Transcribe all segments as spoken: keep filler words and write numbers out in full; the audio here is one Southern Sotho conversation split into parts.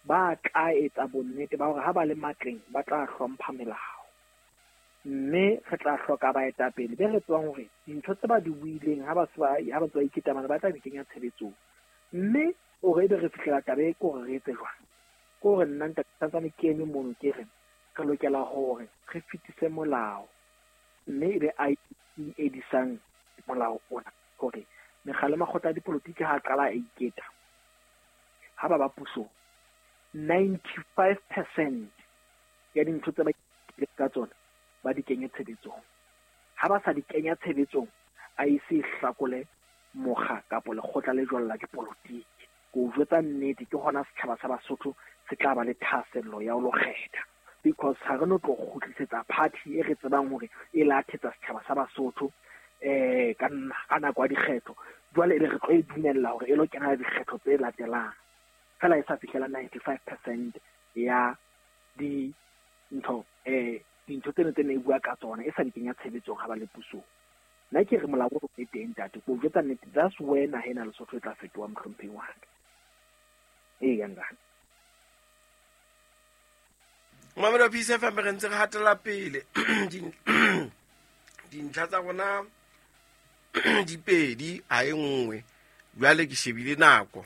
ba tla etsa bonnete ba hore ha ba le matleng ba tla hlompha melao. Mme re tla hloka baetapele be re tsebang hore dintho tse ba di buileng ha ba se ba ha ba tswa iketamana ba tla di kenya tshebetsong. Mme hore ebe re fihlela taba e ke hore re etse jwang? Ke hore nna ntate santsane ke eme mono ke re re lokela hore re fetise molao, mme ebe I E C e disang molao ona hore mekga le makgotla a dipolotiki ha a qala a iketa ha ba ba pusong, ninety-five percent ya dintho tse ba iketlileng ka tsona ba di kenye tshebetsong. Ha ba sa di kenya tshebetsong, A E C e hlakole mokga kapa lekgotla le jwalo la dipolotiki. Ke o jwetsa nnete, ke hona setjhaba sa Basotho se tla ba le thahasello ya ho lo kgetha, because ha re no tlo kgutlisetsa party e re tsebang hore e lathetsa setjhaba sa Basotho eh ka nna, ka nako ya dikgetho. Jwale ebe re tlo e dumella hore e lo kena dikgetho tse latelang fela e sa fihlela ninety-five percent ya dintho, eh, dintho tseno tse ne e bua ka tsona e sa di kenya tshebetsong ha ba le pusong. Nna ke re molao o e teng ntate, ke o jwetsa nnete, that's where naha ena Lesotho e tla fetoha mohlomphehi wa ka. Ee, ntate. Mamelo wa Peace F M, re ntse re hatela pele. Dintlha tsa rona di pedi, ha e nngwe. Jwale ke shebile nako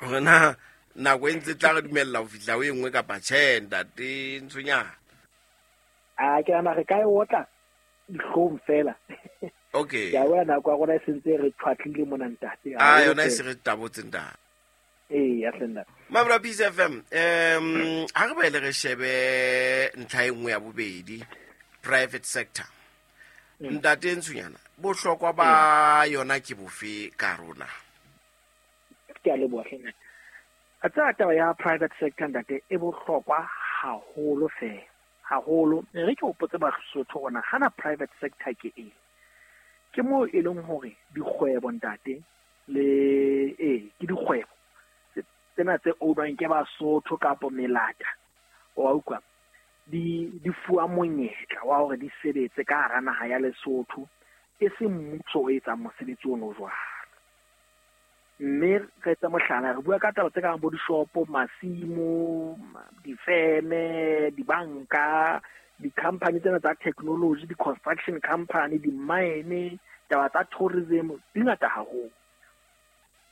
hore na nako e ntse tla re dumella ho fihla ho e nngwe kapa tjhe, ntate Ntshonyana. A ke nahana re ka e otla dihlong fela. Okay. Ke a bona nako ya rona e sentse re tshwatlile mona ntate. Ah, yona e se re tabotse ntate. Ee, ya hle ntate. Mamelo wa Peace F M, em, ha re boele re shebe ntlha e nngwe ya bobedi, private sector. Mm. Ntate Ntshonyana, bohlokwa ba yona ke bofe ka rona? Ke a leboha hle ntate. A tsaya taba ya private sector ntate e bohlokwa haholo fela, haholo. E re ke hopotse Basotho hore hana private sector ke eng. Ke moo e leng hore dikgwebo ntate le, ee, ke dikgwebo tsena tse ownwang ke Basotho kapo melata, wa utlwa, di, di fuwa monyetla wa hore di sebetse ka hara naha ya Lesotho, e seng mmuso o etsang mosebetsi ono jwalo. Mme re etse mohlala, re bua ka taba tse kang bo dishopo, masimo, difeme, dibanka, di-company tsena tsa technology, di-construction company, di-mine, taba tsa tourism, di ngata haholo.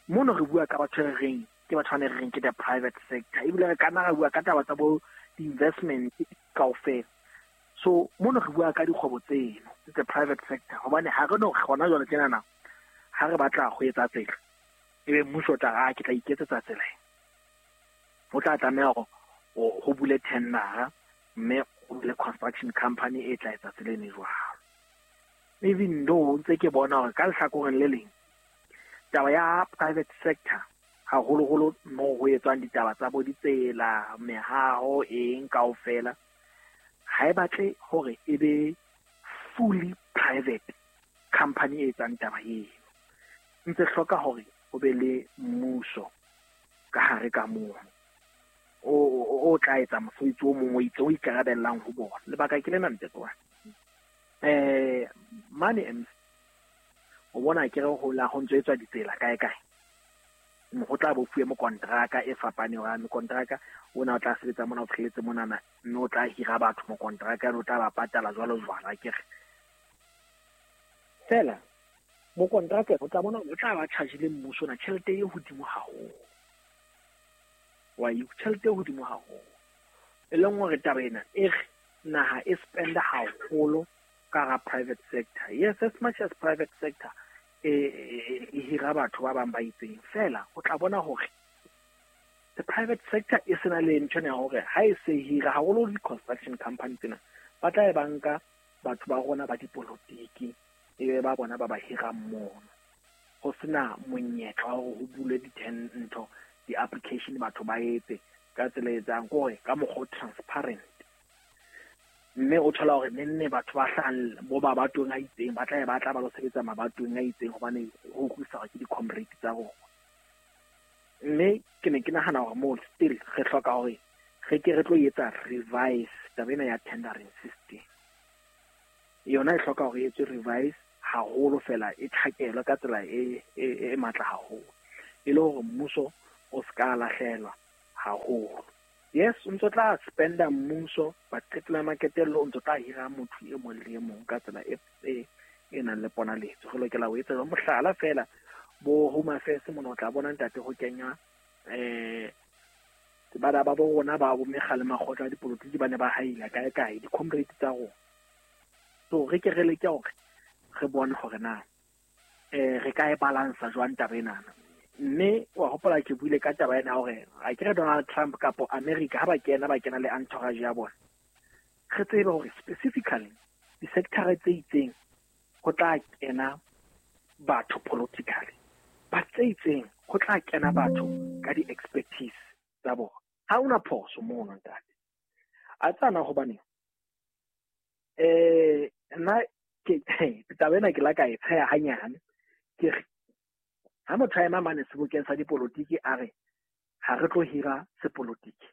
Mono re bua ka batho re reng ke batho ba ne re reng ke the private sector, ebile re ka nna ra bua ka taba tsa bo di-investment kaofela. So mono re bua ka dikgwebo tseno the private sector, hobane ha re no kgona jwale tjenana ha re batla ho etsa tsela, ebe mmuso o tla re, ah, ke tla iketsetsa tsela e. Ho tla tlameha hore ho, ho bule tendera, mme ho bule construction company e tla etsa tsela eno jwalo. Even though ntse ke bona hore ka lehlakoreng le leng taba ya private sector haholoholo moo ho etswang ditaba tsa bo ditsela, mehaho, eng kaofela, ha e batle hore e be fully private company e etsang taba eno. Ntse hloka hore ho be le mmuso ka hare ka moo o, o, o tla etsa mosebetsi o mong o itseng o ikarabellang ho bona. Lebaka ke lena ntate wa ka. Eh, mane M C, o bona ke re ho la ho ntso etswa ditsela kae kae. Ho tla bo fuwe mokontraka e fapaneng, hobane mokontraka ona o tla sebetsa mona, o fihletse monana, mme o tla hira batho mokontraka, o tla ba patala jwalo jwalo, akere. Fela mokontraka o tla bona o tla ba charge-ile mmuso ona tjhelete e hodimo haholo. Wa e tjhelete e hodimo haholo. E leng hore taba ena e re naha e spend haholo ka hara private sector. Yes, as much as private sector e, e, e hira batho ba bang ba itseng, fela o tla bona hore the private sector e sena le ntho ena ya hore ha e se hira haholo di-construction company tsena, ba tla e banka batho ba rona ba dipolotiki, e be ba bona ba ba hirang mono. Ho sena monyetla wa hore ho bulwe di-ten ntho, di-application batho ba etse ka tsela e etsang, ke hore ka mokgwa o transparent. Mme o thola hore nenne batho ba hlahang bo mabatoweng a itseng, ba tla e batla ba lo sebetsa mabatoweng a itseng hobane ho utlwisisa hore ke di-comrade tsa rona. Mme ke ne ke nahana hore moo still re hloka hore re ke re tlo etsa revise taba ena ya tendering system. Yona e hloka hore e etswe revise haholo fela, e tjhakelwe ka tsela e, e, e matla haholo, e le hore mmuso o ska lahlehelwa haholo. Yes, o ntso tla spenda mmuso, but qetelo ya maqetello o ntso tla hira motho e mong le e mong ka tsela e e e nang le ponaletso. Re lokela ho etsa jwang? Mohlala feela, bo Home Affairs mona o tla bona ntate ho kenya eh bana ba bo rona ba bo mekga le makgotla a dipolotiki ba ne ba haila kae kae di-comrade tsa rona. So re ke re leke hore re bone hore na eh re ka e balansa jwang taba enana. Mme wa hopola ke buile ka taba ena hore a ke re Donald Trump kapo America ha ba kena ba kena le entourage ya bona. Re tsebe hore specifically di-sector tse itseng ho tla kena batho politically, ba tse itseng ho tla kena batho ka di-expertise tsa bona. Ha hona phoso mono ntate. A tsana hobane eh nna ke taba ena ke la ka e tsheha hanyane. Ke re ha motho a ema mane sebokeng sa dipolotiki a re ha re tlo hira sepolotiki,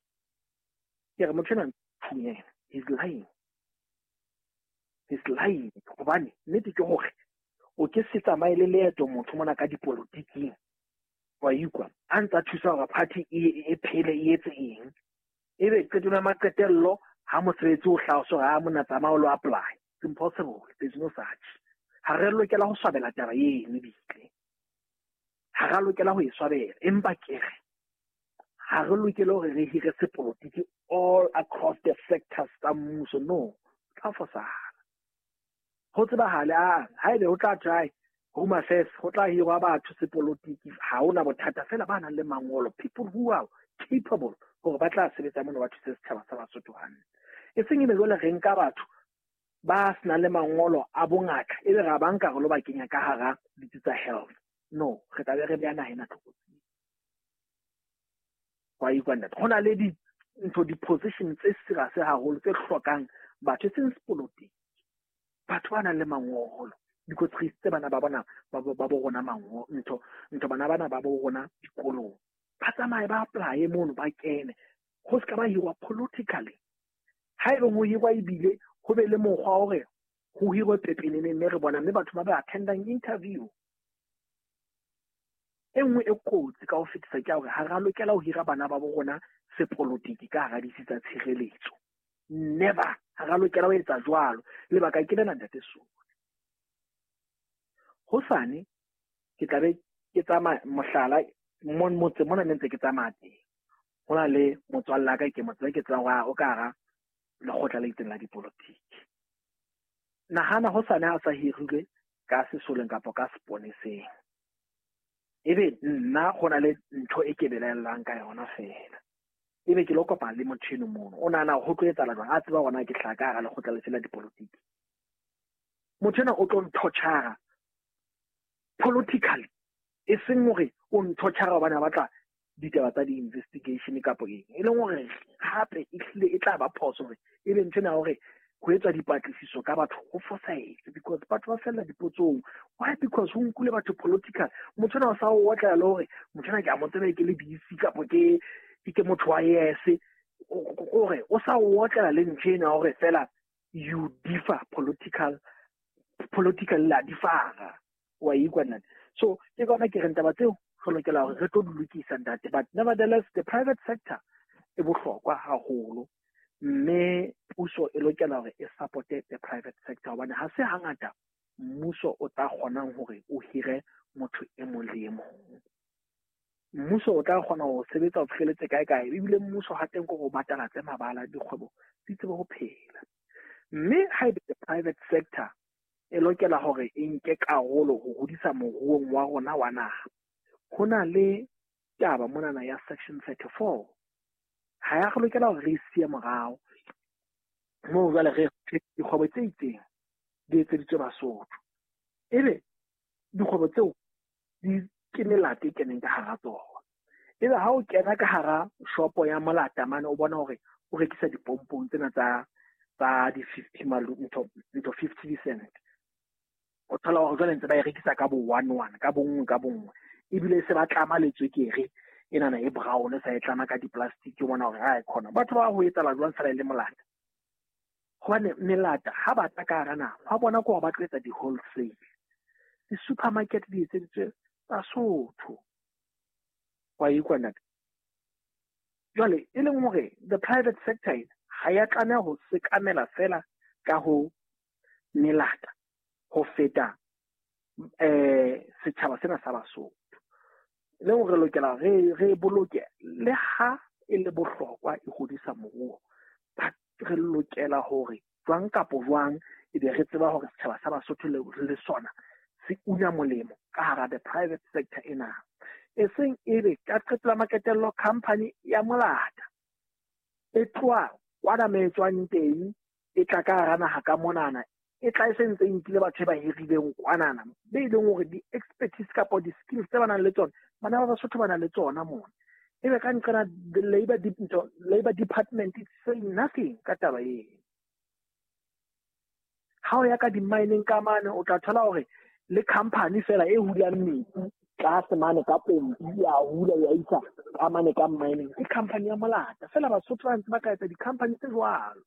ke re motho ena thunyana, he's lying. He's lying. Hobane nnete ke hore o ke se tsamaye le leeto motho mona ka dipolotiking, wa ikwa a ntsa thusa hore party e e phele e etse eng, ebe qetelo ya maqetello ha mosebetsi o hlaha so ha mona tsamaya o lo apply. It's impossible. There's no such. Ha re lokela ho swabela taba eno ebile ha ra lokela ho e swabela, empa ke re ha re lokele hore re hire sepolotiki all across the sectors tsa mmuso. No, tla fosahala. Ho tsebahale a haebe ho tla try Home Affairs ho tla hirwa batho sepolotiki, ha hona bothata fela ba nang le mangolo, people who are capable hore ba tla sebetsa mona ba thuse setjhaba sa Basotho hantle. E seng ebe jwale re nka batho ba senang le mangolo a bongaka ebe ra ba nka re lo ba kenya ka hara ditsi tsa health. No, re tla be re beha naha ena tlokotsing. Wa ikwa ntate, ho na le di ntho di-position tse serious haholo tse hlokang batho e seng sepolotiki, batho ba nang le mangolo, because re isitse bana ba bona ba bo ba bo rona mangolo ntho ntho bana bana ba bo rona dikolong, ba tsamaye ba apply mono ba kene, ho ska ba hirwa politically. Ha ebe ho hirwa ebile ho be le mokgwa hore ho hirwe pepenene mme re bona mme batho ba ba attendang interview. E nngwe e kotsi ka ho fetisa ke ya hore ha ra lokela ho hira bana ba bo rona sepolotiki ka hara ditsi tsa tshireletso. Never. Ha ra lokela ho etsa jwalo. Lebaka ke lena ntate Soli. Hosane ke tla be ke tsamaya mohlala mon motse mona ne ntse ke tsamaya teng. Ho na le motswalle wa ka ke mo tseba ke tsebang hore o ka hara lekgotla le itseng la dipolotiki. Nahana hosane ha sa hirilwe ka sesoleng kapa ka seponeseng, ebe nna go na le ntho e ke belaellang ka yona fela, ebe ke lo kopana le motho eno mono, o nahana ho tlo etsahala jwang? A tseba hore na ke hlaha ka hara lekgotla lefe la dipolotiki. Motho ena o tlo nthochara politically, e seng hore o nthochara hobane a batla ditaba tsa di-investigation kapo eng, e leng hore hape ehlile e tla ba phoso hore ebe ntho ena ya hore ho etswa dipatlisiso ka batho ho fosahetse, because batho ba fella dipotsong. Why? Because ho nkule batho political. Motho ena o sa o otlela le hore motho ena ke a mo tseba ke le B C kapo ke ke motho wa yes, hore o sa o otlela le ntho ena hore fela you differ political, political la differ. Wa ikwa nna. So ke ka hona ke reng taba tseo re lokela hore re tlo di lokisa ntate, but nevertheless the private sector e bohlokwa haholo, mme puso e lokela hore e supporte the private sector, hobane ha se hangata mmuso o tla kgonang hore o hire motho e mong le e mong. Mmuso o tla kgona ho sebetsa ho fihleletse kae kae, ebile mmuso ha teng ke hore o batalatse mabala dikgwebo di tsebe ho phela. Mme haebe the private sector e lokela hore e nke karolo ho hodisa moruong wa rona wa naha, ho na le taba monana ya section thirty-four. Ha ya re lokela hore re e siye morao moo jwale re dikgwebo tse itseng di etseditswe Basotho, ebe dikgwebo tseo di ke melata e keneng ka hara tsona. Ebe ha o kena ka hara shopo ya molata mane, o bona hore o rekisa dipompong tsena tsa tsa di fifty malu ntho ntho fifty cent, o thola hore jwale ntse ba e rekisa ka bo one one ka bonngwe ka bonngwe, ebile se ba tlama le tswekere enana e brown sa e tlama ka di-plastic, o bona hore ha e khona batho ba ho etsahala jwang fela e le molata. Hobane melata ha ba tla ka hara naha, ha bona ke hore ba tlo etsa di-wholesale, di-supermarket di etseditswe Basotho. Wa ikwa ntate? Jwale e leng hore the private sector ena ha ya tlameha ho sekamela fela ka ho melata ho feta eh setjhaba sena sa Basotho. Le hore re lokela re re boloke le ha e le bohlokwa e hodisa moruo, but re lokela hore jwang kapo jwang e be re tseba hore setjhaba sa Basotho le le sona se una molemo ka hara the private sector ena. E seng ebe ka qetela maqetello company ya molata e tloha kwana me tswang teng e tla ka hara naha ka monana, e tla e sentse e nkile batho ba hirileng kwanana be e leng hore di-expertise kapa di-skills tse ba nang le tsona bana ba Basotho ba nang le tsona mona. Ebe ka nqena the labor labor department is saying nothing ka taba eno. Ha o ya ka di-mining ka mane o tla thola hore le company fela e hulang metsi tlase mane ka pompi ya hula ya isa ka mane ka mining ke company ya molata fela. Basotho ba ntse ba ka etsa di-company tse jwalo.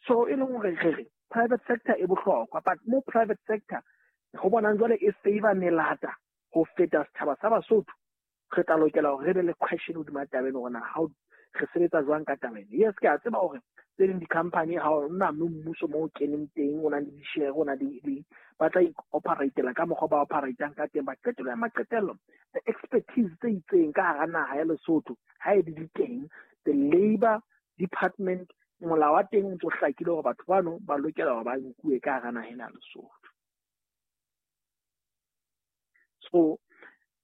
So e leng hore re re private sector e bohlokwa, but mo private sector ho bonang jwale e favor melata ho feta setjhaba sa Basotho, re tla lokela hore re be le question hodima taba eno hore na how re sebetsa jwang ka taba eno. Yes, ke a tseba hore tse ding di-company ha o na mme mmuso mo o keneng teng o na le di-share o na le ba tla operatela ka mokgwa ba operatang ka teng, but qetello ya maqetello the expertise tse itseng ka hara naha ya Lesotho ha e di teng, the labor department molao wa teng o ntso hlakile hore batho bano ba lokela hore ba nkuwe ka hara naha ena ya Lesotho. So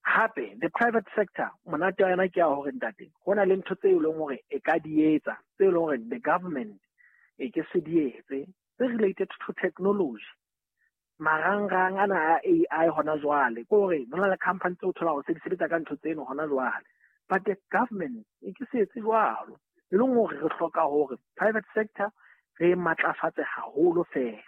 hape the private sector monate wa yona ke ya hore ntate ho na le ntho tse leng hore e ka di etsa tse leng hore the government e ke se di etse tse related to technology. Marangrang ana a A I hona jwale ke hore ho na le company tse o thola hore se di sebetsa ka ntho tseno hona jwale, but the government e ke se etse jwalo. E leng hore re hloka hore private sector re matlafatse haholo fela,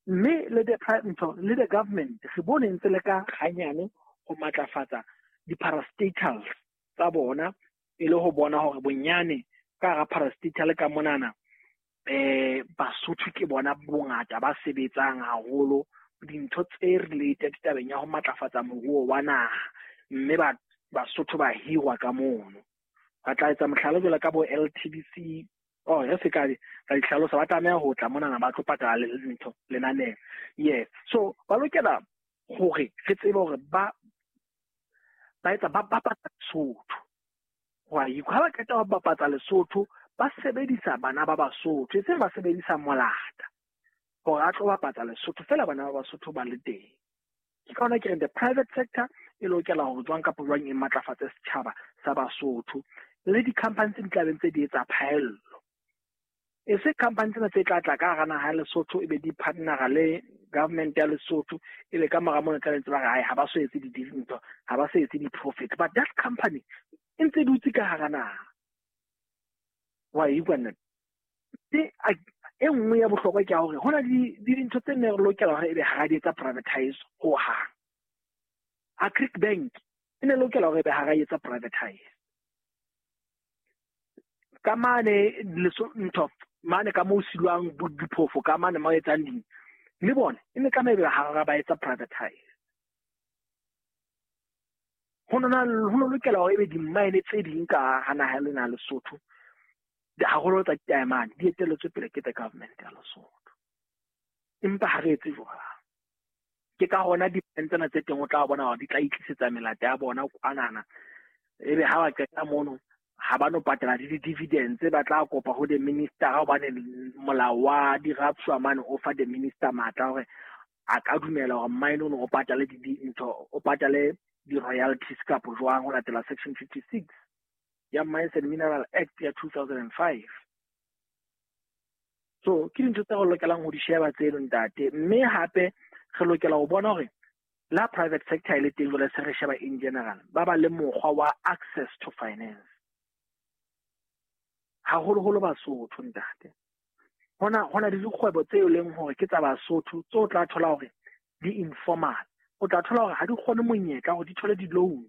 mme le the private le the government re bone ntse le ka hanyane ho matlafatsa di-parastatals tsa bona e le ho bona hore bonyane ka hara parastatal ka monana eh Basotho ke bona bongata ba sebetsang haholo dintho tse related tabeng ya ho matlafatsa moruo wa naha, mme ba Basotho ba hirwa ka mono. Ba tla etsa mohlala jwalo ka bo L T B C, oh re se ka ka dihlalosa, ba tlameha ho tla monana ba tlo patala le ntho lenaneo. Yes, so ba lokela hore re tsebe hore ba ba etsa ba bapatsa Lesotho. Wa ikwa ha ba qeta ho bapatsa Lesotho ba sebedisa bana ba Basotho, e seng ba sebedisa molata hore a tlo bapatsa Lesotho fela bana ba Basotho ba le teng. Ke ka hona ke reng the private sector e lokela hore jwang kapa jwang e matlafatse setjhaba sa Basotho le di-company tse di tlabeng tse di etsa phaello. E se company tsena tse tla tla ka hara naha ya Lesotho ebe di partnera le government ya Lesotho ebe ka mora mona tla ntse ba re hai ha ba so etse di-ntho, ha ba so etse di-profit, but that company e ntse dutse ka hara naha. Wa ikwa nna e nngwe ya bohlokwa ke ya hore ho na le dintho tse ne re lokela hore ebe ha di etsa privatize ho hang. Agric Bank e ne lokela hore ebe ha ra etsa privatize. Ka mane ntho mane ka moo silwang diphofo ka mane mo etsang ding le bona e ne tlameha ebe ha ra ba etsa privatize. Ho nona ho lokela hore ebe di-mine tse ding ka hara naha lena Lesotho haholo tsa diamane di etelletswe pele ke the government ya Lesotho, empa ha re etse jwalo. Ke ka hona di-mine tsena tse teng o tla bona hore di tla itlisetsa melata ya bona kwanana, ebe ha ba qeta mono ha ba no patala le di-dividends, ba tla kopa ho the minister hobane molao wa di-rapswa mane o fa the minister matla hore a ka dumela hore mine ono o patale dintho, o patale di-royalties kapo jwang ho latela section fifty-six ya Mines and Mineral Act ya two thousand and five. So ke dintho tse re lokelang ho di sheba tseno ntate, mme hape re lokela ho bona hore la private sector e le teng jwale se re sheba in general ba ba le mokgwa wa access to finance haholoholo Basotho ntate. Hona hona le dikgwebo tse e leng hore ke tsa Basotho tse o tla thola hore di informal, o tla thola hore ha di kgone monyetla hore di thole di-loan.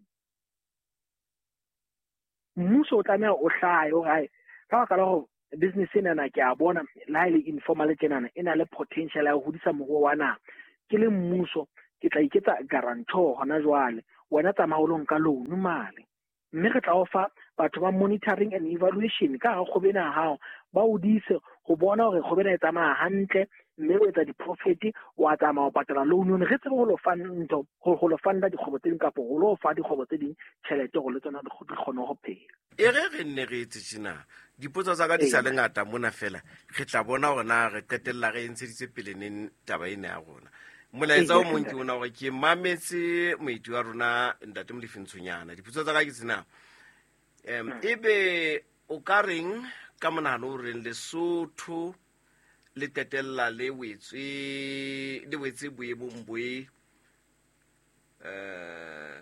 Mmuso o tlameha o hlahe hore hai ka baka la hore business enana ke a bona le ha e le informal tjenana e na le potential ya ho hodisa moruo wa naha, ke le mmuso ke tla iketsa guarantor hona jwale Wena tsamaya o lo nka loan male. Mme re tla o fa batho ba monitoring and evaluation ka hara kgwebo ena ya hao, ba o dise ho bona hore kgwebo ena e tsamaya hantle, mme o etsa di-profit, wa tsamaya o patala loan eno. Re tsebe ho lo fa ntho, ho lo funda dikgwebo tse ding kapa ho lo fa dikgwebo tse ding tjhelete hore le tsona di kgone ho phela. E re re nne re etse tjena, dipotso tsa ka di sa le ngata mona fela, re tla bona hore na re qetella re ntsheditse pele neng taba ena ya rona. Molaetsa o mong ke ona hore ke mametse moeti wa rona Ntate Molefi Ntshonyana. Dipotso tsa ka ke tsena. Em ebe o ka reng ka monahano o reng Lesotho le qetella le wetswe le wetse boemong boe eh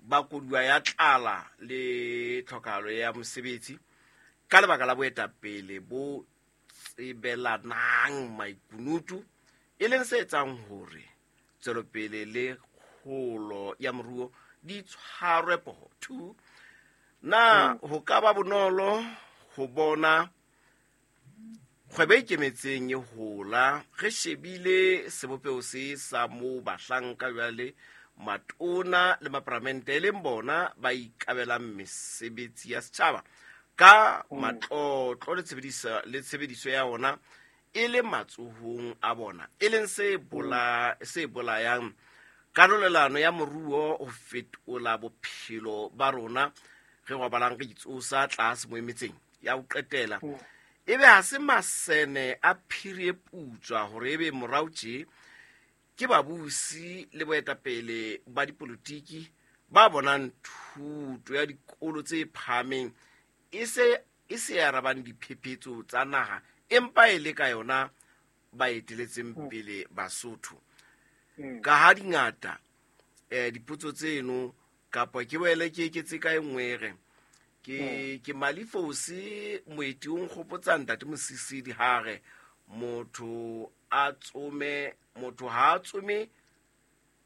ba koduwa ya tlala le tlhokahalo ya mosebetsi ka lebaka la boetapele bo tsebelanang maikunutu, e leng se etsang hore tswelopele le kgolo ya moruo di tshwarwe poho. Two, na ho ka ba bonolo ho bona kgwebo e ikemetseng e hola re shebile sebopeho se sa moo bahlanka jwale matona le maparamente e leng bona ba ikabelang mesebetsi ya setjhaba ka matlotlo le tshebediso le tshebediso ya ona e le matsohong a bona, e leng se bola se bolayang karolelano ya moruo ho fetola bophelo ba rona re robalang re itsosa tlase mo emetseng ya ho qetela. Ebe ha se masene a phiri e putswa hore ebe morao tje ke babusi le boetapele ba dipolotiki ba bonang thuto ya dikolo tse phahameng e se e se arabang diphephetso tsa naha, empa e le ka yona ba eteletseng pele Basotho. Ka ha dingata eh dipotso tseno kapa ke boele ke eketse ka e nngwe re ke ke Malifosi moeti o nkgopotsa Ntate Mosisili hare motho a tsome motho ha tsome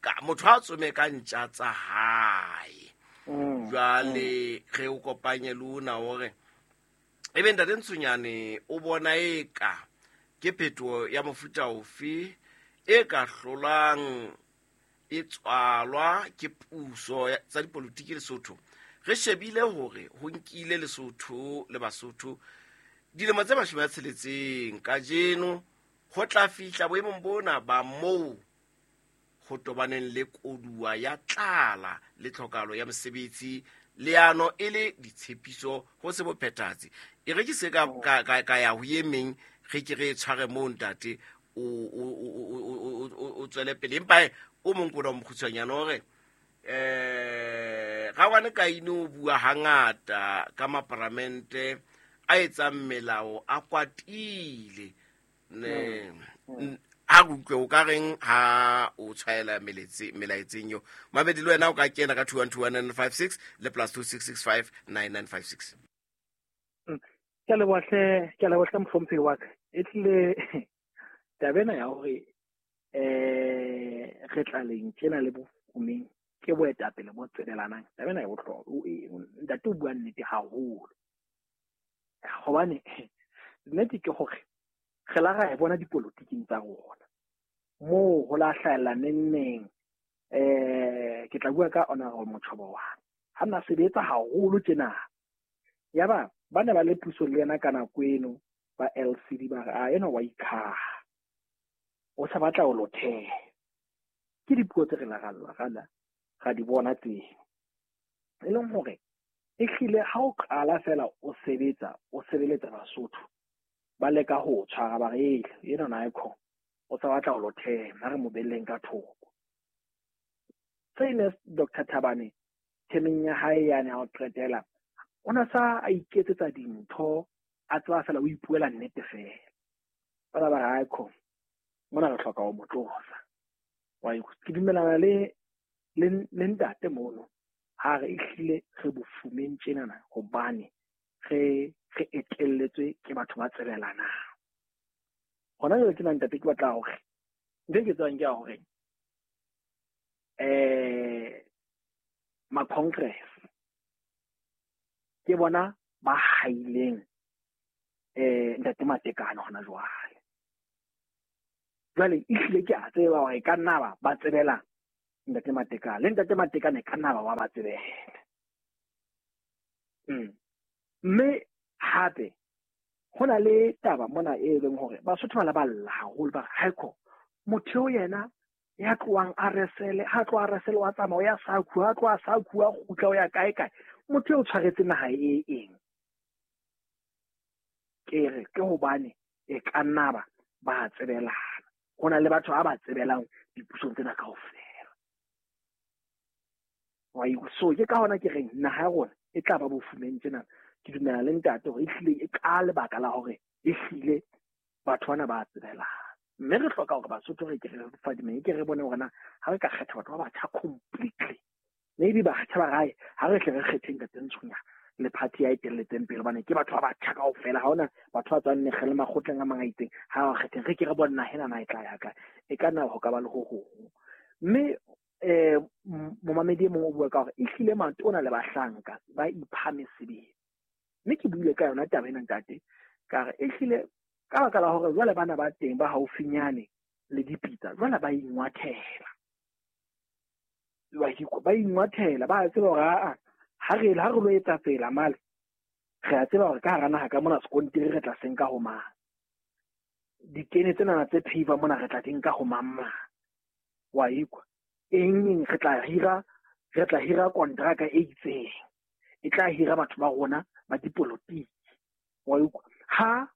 ka motho ha tsome ka ntja tsa hae. Jwale re o kopanye le ona hore ebe Ntate Ntshonyane o bona eka ke phetoho ya mofuta ofe e ka hlolang e tswalwa ke puso tsa dipolotiki Lesotho. Re shebile hore ho nkile Lesotho le Basotho dilemo tse mashome a tsheletseng kajeno ho tla fihla boemong bona ba moo ho tobaneng le koduwa ya tlala le tlhokahalo ya mosebetsi, leano e le ditshepiso ho se bophethahatsi. E re ke se ka ka ka ya ho e meng re ke re tshware moo ntate o o o o tswele pele, empa o mong kona o mokgutshwanyane hore eh Rawane Kaine o bua hangata ka maparamente a etsang melao a kwatile ne a utlwe o ka reng ha o tshwaela meletse melaetseng yo mabedi le wena o ka kena ka two one two one nine five six le plus two six six five nine nine five six. Ke le bohle ke le bohle mohlomphehi wa ka e tlile taba ena ya hore eh re tlaleng tjena le bofumeng ke boetapele bo tsebelanang. Taba ena e bohlokwa, ntate o bua nnete haholo hobane nnete ke hore re la ra e bona dipolotiking tsa rona moo ho la hlahella neng eh ke tla bua ka Honorable Motjhobowane ha nna sebetsa haholo tjena yaba ba ne ba le puso le yena ka nako eno ba L C D ba re a ena wa ikhaha o sa batla ho lotheha. Ke dipuo tse re la ra ra di bona teng e leng hore e hlile ha o qala fela o sebetsa o sebeletsa Basotho ba leka ho tshwara ba re ena na icon o sa batla ho lotheha nna re mo belleng ka thoko. Same as Doctor Thabane themeng ya hae yane ha o qetela o na sa a iketsetsa dintho a tswa fela o ipuela nnete fela ba ba re icon mona re hloka ho mo tlosa. Wa ke dumelana le le le ntate mono ha re ehlile re bofumeng tjenana hobane re re etelletswe ke batho ba tsebelanang. Hona jwale ke na ntate ke batla hore ntho e ke tswang ke ya hore eh ma congress ke bona ba haileng eh ntate Matekane hona jwale. Jwale ehlile ke a tseba hore e ka nna ba ba tsebela Ntate Matekane le Ntate Matekane ka nna ba wa ba tsebela. Mm. Mme hape ho na le taba mona e leng hore Basotho ba la ba lla haholo ba re haeko motho eo yena ya tlohang R S L, ha tloha R S L wa tsamaya o ya Sakhu, ha tloha Sakhu a kgutla o ya kae kae, motho eo o tshwaretse naha e eng? Ke re ke hobane e ka nna ba ba tsebelana. Ho na le batho ba ba tsebelang dipusong tsena kaofela. Wa ikwa. So ke ka hona ke reng naha ya rona e tla ba bofumeng tjena. Ke dumela le ntate hore ehlile e ka lebaka la hore ehlile batho bana ba tsebelana. Mme re hloka hore Basotho re ke re fadimeng, ke re bone hore na ha re ka kgetha batho ba batjha completely, maybe batjha ba gae ha re tle re kgetheng ka teng Ntshunya le party ya etelletseng pele, hobane ke batho ba batjha kaofela, ha hona batho ba tswang mekgeng le makgotleng a mang a itseng. Ha ba kgetheng re ke re bone naha ena na e tla ya kae, e ka nna ho ka ba le ho hong. Mme eh momamedi e mong o bua ka hore ehlile matona le bahlanka ba ipha mesebetsi. Mme ke buile ka yona taba ena ntate, ka re ehlile ka baka la hore jwale bana ba teng ba haufinyane le dipitsa, jwale ba ingwathela. Ba ingwathela, ba tseba hore aa ha re ha re lo etsa tsela male, re a tseba hore ka hara naha ka mona sekontiri re tla senka ho mang, dikene tsena tse phaver mona re tla di nka ho mang mang. Wa ikwa eng eng re tla hira, re tla hira kontraka e itseng e tla hira batho ba rona ba dipolotiki. Wa ikwa ha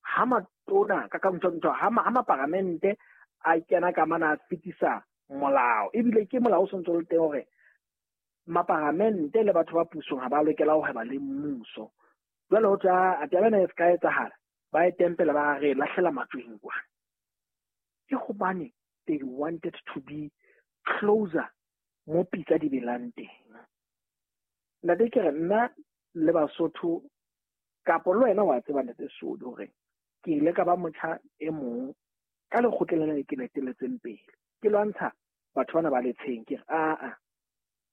ha matona ka ka ntho ntho ha ma, ha maparamente a kena ka mana a fetisa molao, ebile ke molao o sontso le teng hore maparamente le batho ba pusong ha ba lokela ho hweba le mmuso. Jwale ho tla taba ena e ska etsahala, ba e tempela ba re lahlela matsweng kwa. Ke hobane they wanted to be closer mo pitsa di belang teng. Ntate ke re nna le Basotho kapo le wena wa tseba Ntate Sodi hore ke ile ka ba motjha e mong ka lekgotleng lena le ke letelletseng pele, ke lwantsha batho bana ba Letsheng. Ke re aa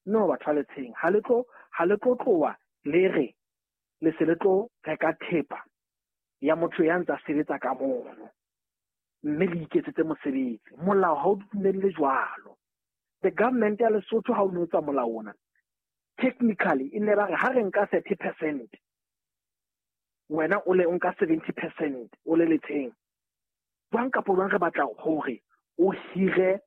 no, batho ba Letsheng ha le tlo, ha le tlo tloha le re le se le tlo reka thepa ya motho ya ntsa sebetsa ka mono, mme le iketsetse mosebetsi. Molao ha o dumelle jwalo. The government ya Lesotho ha o no etsa molao ona, technically e ne ba re ha re nka thirty percent, wena o le o nka seventy percent o le Letsheng. Jwang kapo jwang re batla hore o hire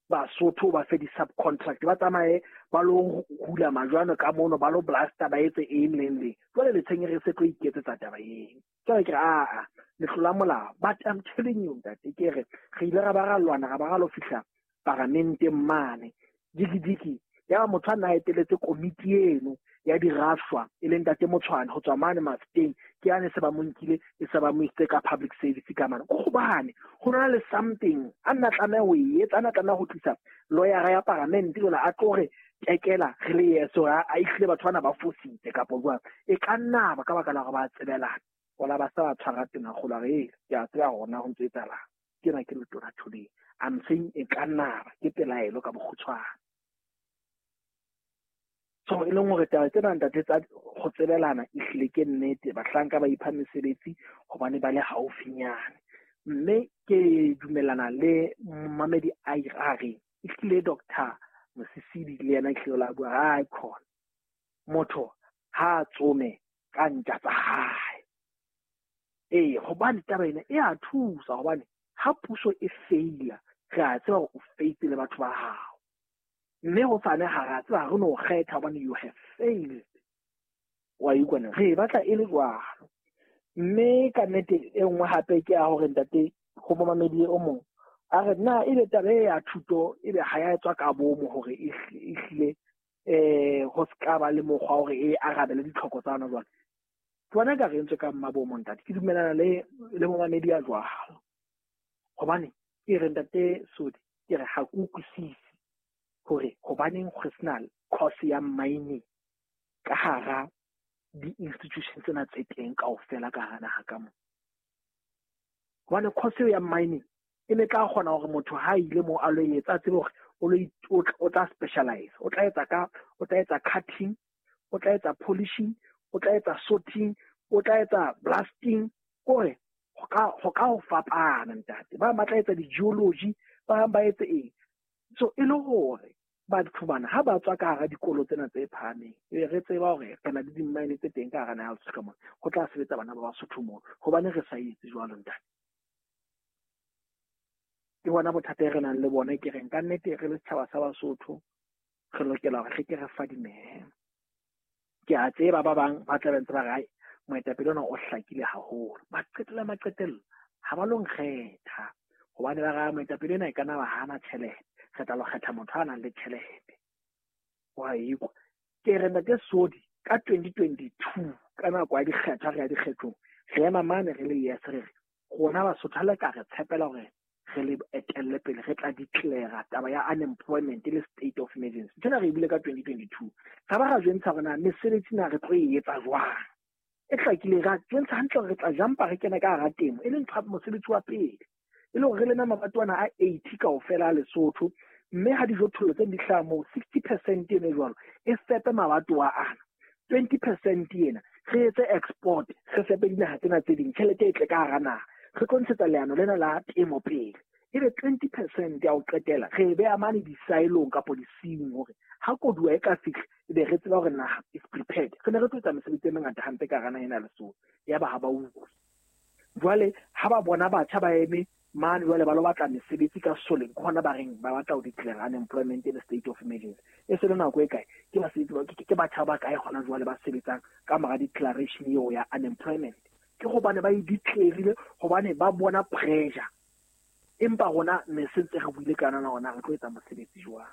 Basotho ba fe di-subcontract, ba tsamaye ba lo hula majwano ka mono, ba lo blaster, ba etse eng le eng le. Jwale Letsheng re se tlo iketsetsa taba eng. Jwale ke re aa le tlola molao. But I'm telling you ntate, ke re re ile ra ba ra lwana, ra ba ra lo fihla paramenteng mane dikidiki. Ya motho a na eteletse komiti eno ya dirafshwa e leng Ntate Motshwane ho tswa mane Mafeteng, ke yane se ba mo nkile e se ba mo isitse ka public service ka mane. Ko hobane ho na le something a nna tlameha ho e etsa, a nna tlameha ho tlisa lawyer ya paramente jwale a tlo re tekela re le yeso a ihlile batho bana ba fositse kapo jwang. E ka nna ba ka baka la hore ba tsebelana, wala ba sa ba tshwara tena kgolo a re ke a tseba hore na ho ntso etsahalang. Ke na ke letona today, I'm saying e ka nna ba ke pelaelo ka bokgutshwane. So e leng hore taba tsena ntate tsa go tsebelana ehlile ke nnete, bahlanka ba ipha mesebetsi hobane ba le haufinyane. Mme ke dumellana le momamedi a re ehlile Doctor Mosisili le yena ehlile o la bua, hai khona motho ha tsome ka ntja tsa hae. Ee, hobane taba ena e a thusa, hobane ha puso e feila re a tseba hore o feitse le batho ba hao. Mme ho sane ha ra tseba re no kgetha hobane you have failed. Wa utlwa na? Re batla e le jwalo. Mme ka nnete e nngwe hape ke ya hore ntate ho momamedi o mong a re na ebe taba e ya thuto ebe ha ya etswa ka bomo hore e hlile eh ho ska ba le mokgwa hore e arabele ditlhoko tsa hona jwale. Ke bona ka re entswe ka mmabomo ntate, ke dumelana le le momamedi ya jwalo. Hobane ke re ntate Sodi, ke re ha ke utlwisise hore hobaneng go sena course ya mining ka hara di-institution tsena tse teng kaofela ka hara naha ka mo. Hobane course ya mining e ne tla kgona hore motho ha ile mo a lo etsa, a tsebe hore o lo o tla specialize, o tla etsa ka, o tla etsa cutting, o tla etsa polishing, o tla etsa sorting, o tla etsa blasting, kore ho ka ho ka ho fapana ntate. Ba ba tla etsa di-geology, ba bang ba etse eng. So e le hore Batho bana ha ba tswa ka hara dikolo tsena tse phahameng, e re tseba hore re na le di-mine tse teng ka hara naha ya Lesotho ka mona, ho tla sebetsa bana ba Basotho moo. Hobane re sa etse jwalo ntate. Ke bona bothata e re nang le bona, ke reng ka nnete re le setjhaba sa Basotho re lokela hore re ke re fadimehe. Ke a tseba ba bang ba tla be ntse ba re, "Ai, moetapele ona o hlakile haholo." Ba qetella maqetello ha ba lo nkgetha hobane ba re moetapele ena e ka nna ba hana tjhelete, re tla lo kgetha motho a nang le tjhelete. Wa ikwa. Ke re ntate Sodi ka twenty twenty-two ka nako ya dikgetho, re ya dikgethong, re ema mane re le yes, re re rona Basotho ha le ka re tshepela hore re le etelle pele, re tla declare taba ya unemployment le state of emergency. Nthwena re e bile ka twenty twenty-two. Ra ba ra jwentsha hore na mesebetsi na re tlo e etsa jwang. E hlakile, ra jwentsha hantle hore re tla jumpa re kene ka hara temo, e leng ntho ya mosebetsi wa pele. E le hore re leme mabato ana a eighty kaofela a Lesotho, mme ha dijothollo tse di hlaha moo, sixty percent eno e jwalo e fepe mabatowa ana, twenty percent ena re etse export, re fepe dinaha tsena tse ding, tjhelete e tle ka hara naha. Re tlo ntshetsa leano lena la temo pele, ebe twenty percent ya ho qetela re e beha mane di-silong kapo di-siung hore ha koduwa e ka fihla ebe re tseba hore naha is prepared. Re ne re tlo etsa mesebetsi e mengata hampe ka hara naha ena ya Lesotho. Yaba ha ba utlwe. Jwale ha ba bona batjha ba eme mane jwale ba lo batla mesebetsi ka soleng, ke hona ba reng ba batla ho declare unemployment in a state of emergency. E se le nako e kae? Ke basebetsi ba, ke, ke batjha ba kae hona jwale ba sebetsang ka mora declaration eo ya unemployment? Ke hobane ba e declare-ile, hobane ba bona pressure. Empa rona ne se ntse re buile ka yona hore na re tlo etsa mosebetsi jwang.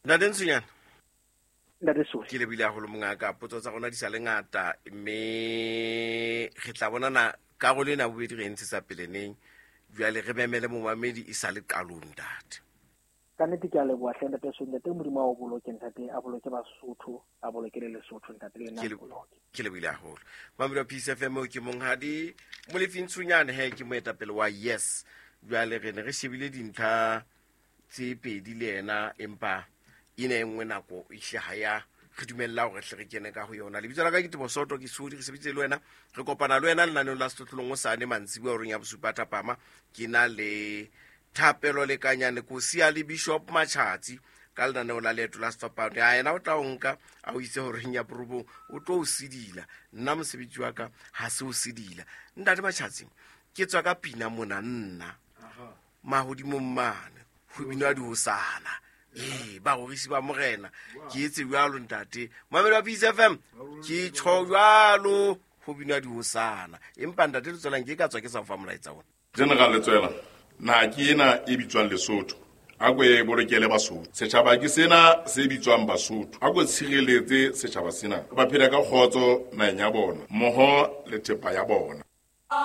Ntate Ntshonyana. Ntate Sodi. Ke lebile haholo mongaka, potso tsa rona di sa le ngata, mme re tla bonana karolo ena bobedi re e ntshetsa pele neng. Jwale re memele momamedi e sa le qalong, ntate. Ka nnete ke a leboha hle ntate Sodi. Ntate Modimo a o boloke, ntate a boloke Basotho, a boloke le Lesotho, ntate le nna Ke le- a boloke. Ke lebile haholo. Mamedi wa Peace F M, ke monghadi Molefi Ntshonyane, he ke moetapele wa Yes. Jwale re ne re shebile dintlha tse pedi le yena, empa ena e nngwe nako e hle ha ya re dumella hore hle re kene ka ho yona. Lebitso la ka ke Teboho Soto, ke Sodi, re sebeditse le wena, re kopana le wena lenaneong la Sehlohlolong hosane mantsiboya horeng ya bosupa thapama. Ke na le Thapelo Lekanyane Kosi le Bishop Machatsi ka lenaneo la Leeto la Sefapano. Ya yena o tla o nka a o itse horeng ya borobong, o tlo o sedila. Nna mosebetsi wa ka ha se o sedila. Ntate Machatsi, ke tswa ka pina mona nna mahodimong mane ho binwa dihosana. Ee, barorisi ba morena, ke etse jwalo ntate. Mamedi wa Peace F M, ke tjho jwalo ho binwa dihosana. Empa ntate Letswelang, ke ka tswa ke sa o fa molaetsa ona. General Letswela, naha ke ena e bitswang Lesotho. A ko e bolokele Basotho. Setjhaba ke sena se bitswang Basotho. A ko tshireletse setjhaba sena. Ba phela ka kgotso naheng ya bona, mmoho le thepa ya bona.